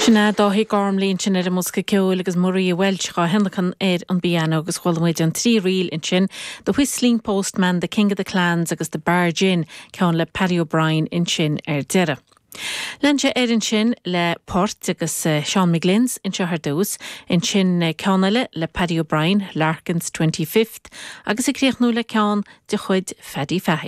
Sin é Dáithí Gormley ansin ar an mbosca ceoil agus Maria Walsh dhá thionlacan ar an bpianó agus chuala muid an trí ríl ansin, The Whistling Postman, The King of the Clans agus The Barge Inn, ceann le Paddy O'Brien ansin ar deireadh. Lean sé air ansin le port agus Seán McGlynn's anseo ar dtús, ansin ceann eile le Paddy O'Brien, Larkin's Twenty Fifth agus ag críochnú le ceann de chuid Phaddy Fahy.